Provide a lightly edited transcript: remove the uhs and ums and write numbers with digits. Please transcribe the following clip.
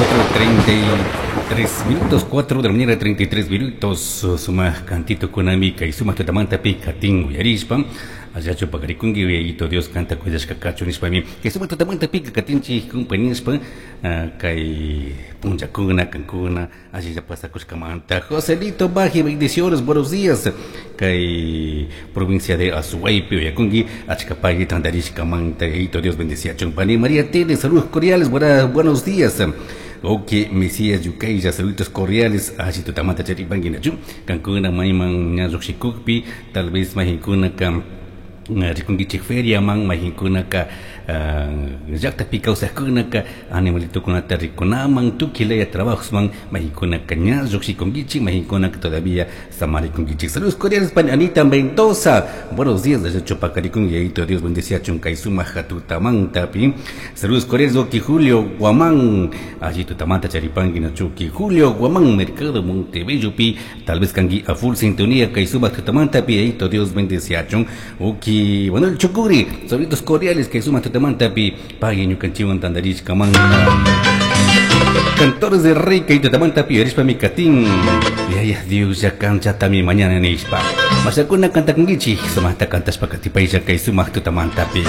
4:33 minutos, 4 de la mañana, 33 minutos. Sumaj cantito kunami kay sumaj tutamantapi katin uyarishpa allachu paqarikunki Yayito Dios kanta cuidashka kachun nishpami kay sumaq tutamantapi katinchik compañishpa kay punllakuna kankuna allilla pasakushkamanta. Joselito Baji, bendiciones, buenos días. Kay provincia de Azuaypi uyakunki achka pagui tantarishkamanta Yayito Dios bendeciachun. Pani María Tele, saludos cordiales, buenos días. Ok, Mesías Yucayya, saludos cordiales. Allí tutamanta charipanki nachu. Kankuna mayman ña lluqshikukpi, tal vez mayqinkuna rikunkichik feriaman, mayqinkunaka llaqtapi kawsaqkunaka animalitokunata rikunaman, tukuy laya trabajosman, mayqinkunaka ña lluqshikunkichik, mayqinkunaka todavía samarikunkichik. Saludos cordiales pani Anita Mendoza. Buenos días desde Chupacarikunki, Yayito Dios bendeciachun kay sumaq tutamantapi. Saludos cordiales Oki Julio Guamán. Allí tutamanta charipanki nachuki Julio Guamán, Mercado Montebello pi, tal vez kanki a full sintonía kay sumaq tutamantapi, Yayito Dios bendeciachun. Oki Manuel Chocuri, saludos cordiales kay sumaq tutamantapi, pagui ñukanchikwan tantarishkamanta. Cantores de Rey kay tutamantapi yarishpa mi katin. Yaya Dios ya kanchatami mañana nishpa. Masakuna kantakunkichik, sumaqta kantashpa katipaylla kay sumaq tutamantapi.